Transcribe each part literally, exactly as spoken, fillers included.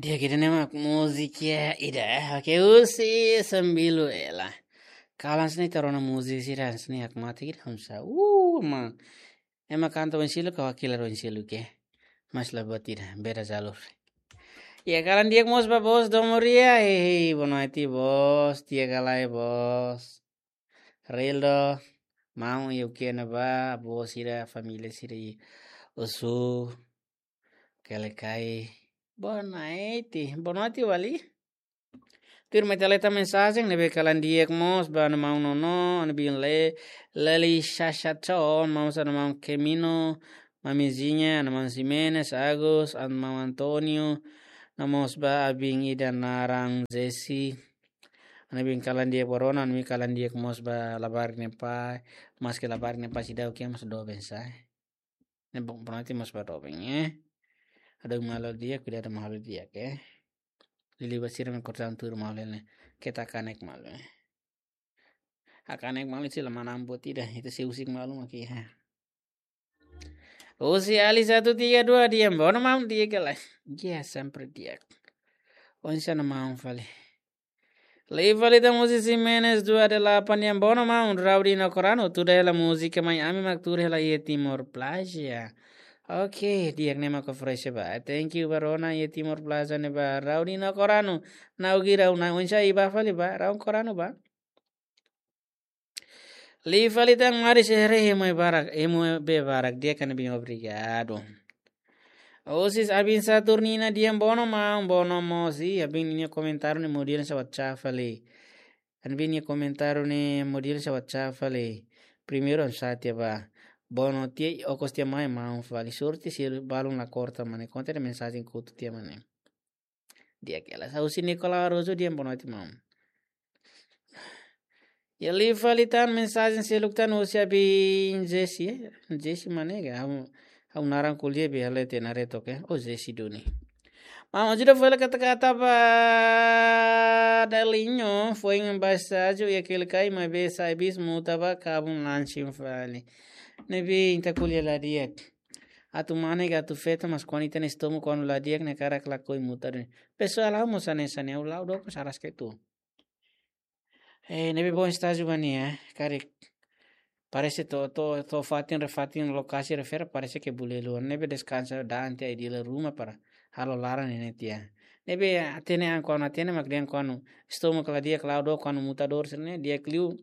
Di'ak, ida-ne'e mak múzika ida, eh. Oke, husi Sambilu Ela. Kalan sini tarona múzika sira sini hak mate kita hamsa. Uh, ma. Ema kanta oin seluk ka wakilar oin seluk ke. Mas la buat ida, beda jalur. Ya, kalan di'ak mós ba bos Dom Moria. Hei, hei, boa noite, bos. Di'ak ka lae, bos. Rildo, maun, iha ne'ebá, bos sira, família sira iha Osu, Kelekai. Boa noite, boa noite, Wali. Tuir mai ita lee tan mensajen ne'ebé kalan di'ak mós ba ha'u-nia maun Nono, ha'u-nia biin Leli, Leli Shasha Chon, maun, ha'u-nia maun Kemino, Mami Zinha, ha'u-nia maun Ximenes, Agus, ha'u-nia maun Antonio, no mós ba ha'u-nia biin ida naran Jesse. Ha'u-nia biin kalan di'ak ba rona, ha'u-nia biin kalan di'ak mós ba labarik nia pai, maske labarik nia pai seidauk iha, mas doben sá. Ne'e bom, pronto, mós ba doben, eh. Ha'u malu di'ak, kuidadu malu di'ak, eh. Liuliu ba sira mak kortan tuur malu ne'e. Keta kanek malu, eh. Hakanek malu sila manam buat ida, ita sei husik malu mak iha. Husi Ali satu tiga dua, di'ak, bono maun, di'ak ka lae. Ya, sempre di'ak. Oinsá ha'u-nia maun fali. Liu fali tan husi Ximenes dua delapan, di'ak, bono maun, Raudi no Koranu, tuur hela múzika mai ami mak tuur hela iha Timor Plaza. Oke, di'ak, ne'e mak oferese ba. Thank you ba rona, iha Timor Plaza ne'e ba Raudi no Koranu. Nau girau na oinsá iha ba fali ba, Raun Koranu ba. Liu fali tan Maris Ere, hemu barak, hemu be barak, di'ak, ha'u-nia biin, obrigadu. Husi Abin Saturnina, di'ak, bono maun, bono mós, i Abin nia komentáriu ne'e model sa WhatsApp fali. Ha'u-nia biin nia komentáriu ne'e model sa WhatsApp fali. Primeiru ha'u sala tiha ba. Bono tiha, okos tiha mai maun fali. Sorte se balun la korta mane. Konta de'it mensajen kotu tiha mane. Di'ak ka lae. Husi Nicolau Araújo, di'ak, boa noite, maun. Ya, liu fali tan mensajen seluk tan husi Abin Jesse, eh? Jesse mane ka? Ha'u, ha'u naran ko'alia be hale te nare toke. Oh, Jesse duni. Maun, ajuda fali kata-kata ba Dalinho, foin ba estájiu iha Kelekai, maibé sai bis muta ba kabun lansin fali. Ne'ebé ita ko'alia la di'ak. Atu mane ka atu feto, mas kuandu ita-nia estómagu kuandu la di'ak ne'e hakarak lakohi muta duni. Pesoál ha'u mós hanesan ne'e, ha'u la'o dook, mas araska uitoan. Eh, ne'ebé bom estájiu ba nia, eh, karik. Parese to'o, to'o, to'o fatin, re fatin, lokasi refere, parese ke bule luan. Ne'ebé deskansa da'an tiha iha dili ruma para halo laran ne'e tiha. Ne'ebé hatene an kuandu hatene mak dehan kuandu estómagu la di'ak, la'o dook, kuandu muta dor sira ne'e di'ak liu.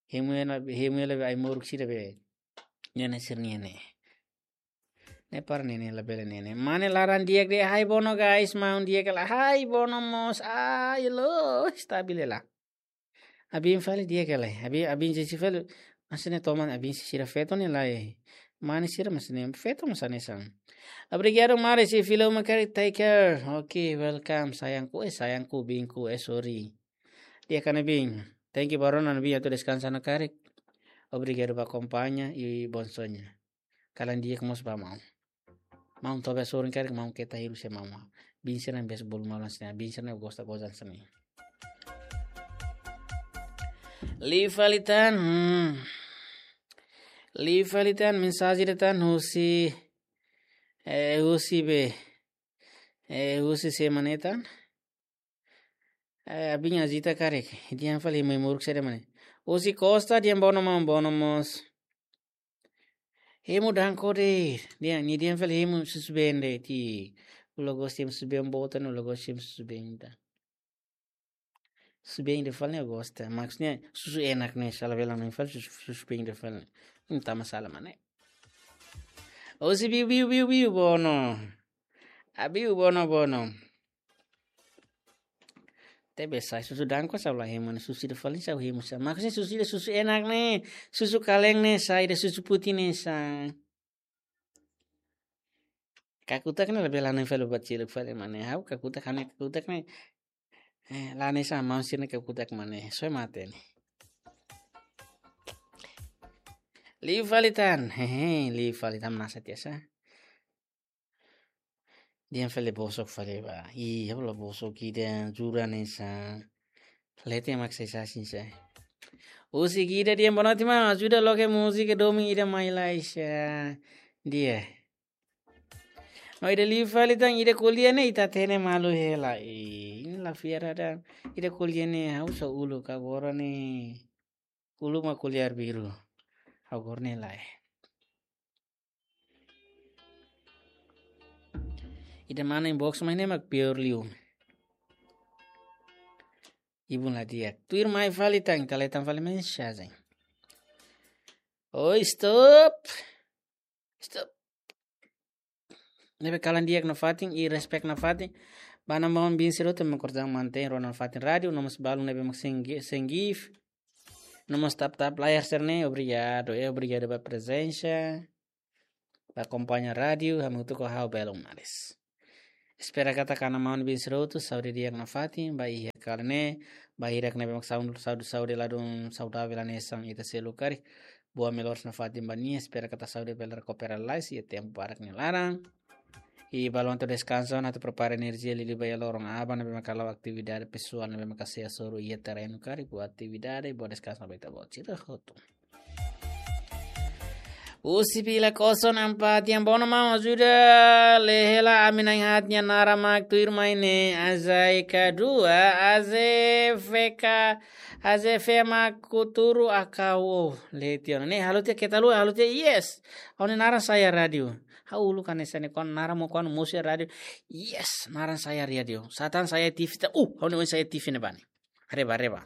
Hemu hela, hemu hela be ai-moruk sira be. Ne'e ne'e sira-nian ne'e. Ne'e para ne'e ne'e labele ne'e ne'e. Mane laran di'ak de'it, hai bono guys, maun, di'ak ka lae, hai bono mós, ai lo, stabil hela. Abin fali di'ak ka lae, Abin, Abin Jesse fali, maksudnya toman Abin sira feto ne'e lae. Mane sira maksudnya feto mós hanesan. Obrigadu, Maris, i fila uma karik, take care. Oke, welcome, sayangku, eh, sayangku, biinku, eh, sorry. Di'ak ka lae, biin. Thank you ba rona, biin, atu deskansa ona karik. Obrigadu ba akompaña i bom sonho. Kalan di'ak mós ba maun. Maun tobe sorin karik maun keta hiru se maun. Biin sira ne'e bes bolu maun sini. Biin sira ne'e gosta gozan sini. Liu fali tan, hmm. Liu fali tan mensajen de'it tan husi, eh, husi be. Eh, husi sé mane tan. Eh, Abin Azita karik. Dehan fali ai-moruk sira mane. Husi Costa, dehan bono maun, bono mós. Hemu danko de'it. Dehan, nia dehan fali hemu susubeen de'it. Ha'u la gosta hemu susubeen boot, ha'u la gosta hemu susubeen ida. Susubeen ida fali ne'e ha'u gosta. Maksudnya susu enak ne'e, sala bela ne'e fali susu, susubeen ida fali. Entaun masalah mane. Husi Biu, Biu, Biu, Biu, bono. Abiu, bono, bono. Tebe sai susu danko sá ha'u la hemu, ne'e susu ida fali sá ha'u hemu sá. Maksudnya susu ida susu enak ne'e, susu kaleng ne'e sá, ida susu putih ne'e sá. Kakutak ne'e labele la ne'e fali buat seluk fali mane. Ha'u kakutak, ha'u-nia kakutak ne'e. Eh, la ne'e sá, maun sira-nia kakutak mane. Soe mate ne'e. Liu fali tan. Hehe, liu fali tan, nasa tiha sá. Dehan fali bosok fali ba. Ih, ha'u la bosok ida, jura ne'e sá. Leten mak sai sasin sá. Husi Gida dehan boa noite maun, ajuda loke múzika domin ida mai lai sá. Di'ak. No ida liu fali tan, ida ko'alia ne'e ita hatene malu hela. Eh, ida la fiar ida. Ida ko'alia ne'e ha'u só uluk, agora ne'e uluk mak ko'alia arbiru. Agora ne'e lae. Ida mana inbox mai ne'e mak pior liu. Ibun la di'ak. Tuirmai fali tan, ita hetan fali mensajen. Oi, stop. Stop. Ne'ebé kalan di'ak nafatin, i respect nafatin. Ba maun-alin sira hotu mak konsege mantein rona nafatin rádiu, no mós balun ne'ebé mak senggi-, senggi. No mós tap-tap layar sira-ne'e, obrigadu, eh, obrigadu ba prezensa. Ba akompaña rádiu, hamutuk ho ha'u belun manis. Espera katak maun-alin sira hotu, saúde di'ak nafatin, ba iha kalan ne'e, ba hirak ne'ebé mak saúde, saúde, saúde ladún saudavel hanesan ita seluk karik. Buat melhor nafatin ba nia, espera katak saúde bele rekupera lalais iha tempu barak nia laran. I balun atu deskansa, atu prepara enerjia liuliu ba iha loron aban ne'ebé mak halo atividade pesoál ne'ebé mak sei hasoru iha terrenu karik, buat atividade, buat deskansa ba ita-boot sira hotu. Husi Vila Koson Ampati, yang bono mau ajuda, lee hela ami na'in-haat nia naran mak tuirmai ne'e, Azai Kadua, Aze Feka, Aze Fema Kuturu Akau, oh, lee tiha ona. Ne'e halo tiha keta haluha, halo tiha, yes. Ha'u-nia naran sai iha rádiu. Ha'u uluk hanesan ne'e kuandu naran mak kuandu mosu iha rádiu. Yes, naran sai iha rádiu. Sá tan sai iha T V ta, uh, ha'u-nia oin sai iha T V ne'ebá ne'e. Reba, reba.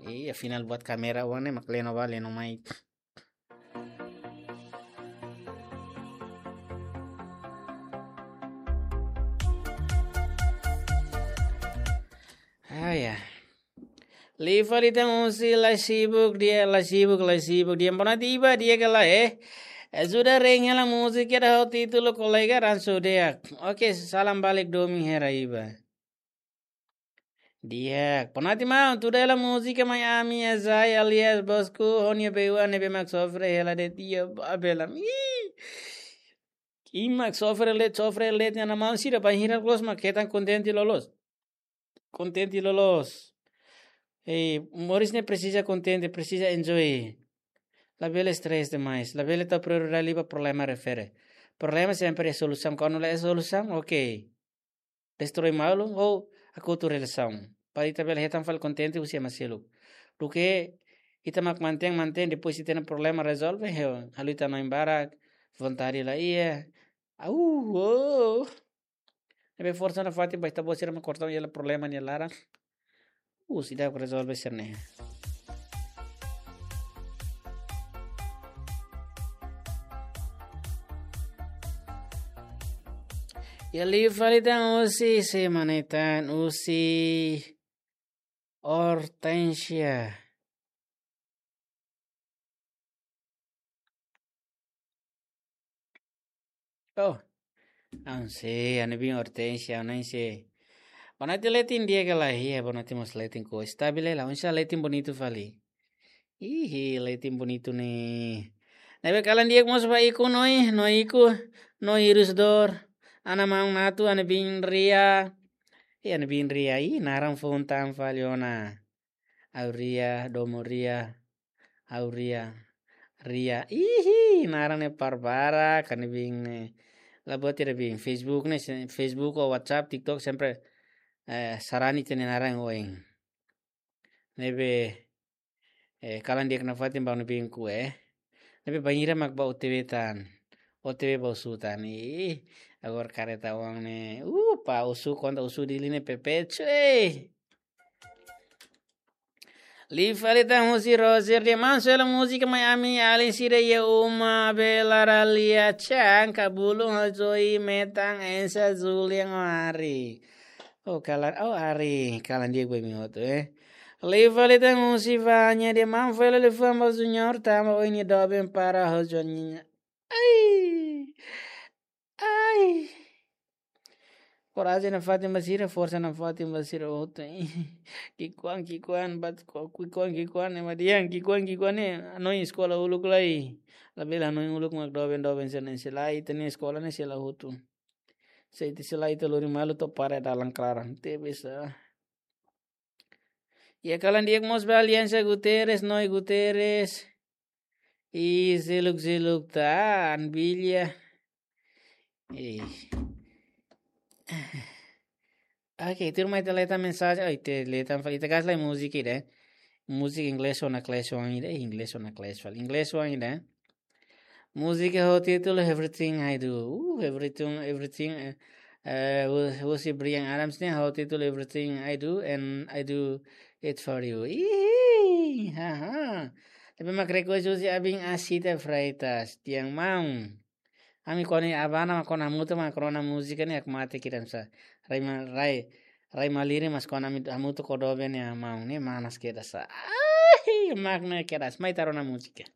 Iya, afinál buat kámera oan ne'e mak leno bá, leno mai. Ah, ya. Liu fali tan husi La Sibuk, di'ak, La Sibuk, La Sibuk, di'ak. Boa noite, Iba, di'ak ka lae? Ajuda rein hela múzika ida ho títulu Kolega Ransu Deak. Oke, salam balik domin hela Iba. Di'ak. Boa noite, maun. Tuda hela múzika mai ami, Azai alias Bosku, ho nia beiuan ne'ebé mak sofre hela de'it iha Babel. Ih. Ih, mak sofre de'it, sofre de'it, nia maun sira bainhira loos mak hetan kontente loloos. Kontente loloos. Eh, moris ne'e presiza kontente, presiza enjoy. Labele stress demais. Labele tau prioridade liu ba problema refere. Problema sempre iha solusaun. Kuandu la iha solusaun, oke. Destroi malu, ou hakotu relasaun. Para ita bele hetan fali kontente husi ema seluk. Duké ita mak mantein, mantein, depois ita-nia problema rezolve, ha'u halo ita-nia oin barak, vontade la iha. Au, oh. Ne'ebé forsa nafatin ba ita-boot sira mak kortaun iha problema nia laran. Uh, seidauk rezolve sira-ne'e. Iha liu fali tan husi, sé mak ne'e tan, husi Hortensia. Oh. Aun sé, ha'u-nia biin Hortensia, aun sé. Boa noite, Letin, di'ak ka lae? Boa noite mós Letin, ko estabil la, aun sé Letin bonitu fali. Ihi, Letin bonitu ne'e. Ne'ebé kalan di'ak mós ba ikus no, no ikus, no hirus dor. Ha'u-nia maun Natu, ha'u-nia biin Ria. Ih, ha'u-nia biin Ria, ih, naran foun tan fali ona. Au Ria, domo Ria, au Ria, Ria. Ihi, naran ne'e par barak, ha'u-nia biin ne'e. La buat ida biin, Facebook ne'e, se-, Facebook ou WhatsApp, TikTok, sempre, eh, sarani ita-nia naran oin. Ne'ebé, eh, kalan di'ak nafatin ba ha'u-nia biin kue, eh. Ne'ebé bainhira mak bá O T W tan. O T W bá husu tan. Ih, agora kareta uang ne'e. Uh, pa husu konta husu Dili ne'e pepecu, eh. Liu fali tan husi Roger, di'ak maun, soe hela múzika mai ami alin sira iha uma, Bela, Ralia, Chan, Kabulung, Hojoi, Metan, Ensa, Julian, oh, Ari. Oh, kalan, oh, Ari, kalan di'ak ba imi hotu, eh. Liu fali tan husi Vanya, di'ak maun, fó hela liafuan ba Junior, tanba oin nia doben para ho Joaninha. Ai! Ai! Korajen nafatin ba sira, forsa nafatin ba sira hotu. Ki'ikoan, ki'ikoan, bat ko-, ki'ikoan, ki'ikoan, ema dehan, ki'ikoan, ki'ikoan, eh, hanoin eskola uluk lai. Labele hanoin uluk mak doben, doben sira-ne'e selae, ita-nia eskola ne'e selae hotu. Se ita selae ita lori malu to'o para dalan klaran. Tebes, ah. Iha kalan di'ak mós ba Aliansa Guterres, Noi Guterres. I seluk-seluk tan, Bilha. Eh. Oke, tuirmai ita lee tan mensajen, oh, ita lee tan fali, ita kaer lai múzika ida. Múzika inglés ona kles wan ida, eh, inglés ona kles fali. Inglés wan ida. Múzika ho títulu Everything I Do. Uh, everything, everything, eh, eh, husi, husi Bryan Adams ne'e ho títulu Everything I Do and I Do It For You. Ih, haha. Ne'ebé mak request husi Abin Asita Freitas, tiang maun. Ami koni abana mak kona hamutuk mak rona múzika ne'e, aku mate kiran sa. Rai ma-, rai, rai malirin mas kona ami hamutuk kodoben ya mau ne'e manas kedas sa. Ai, mak ne'e kedas. Mai ita rona múzika.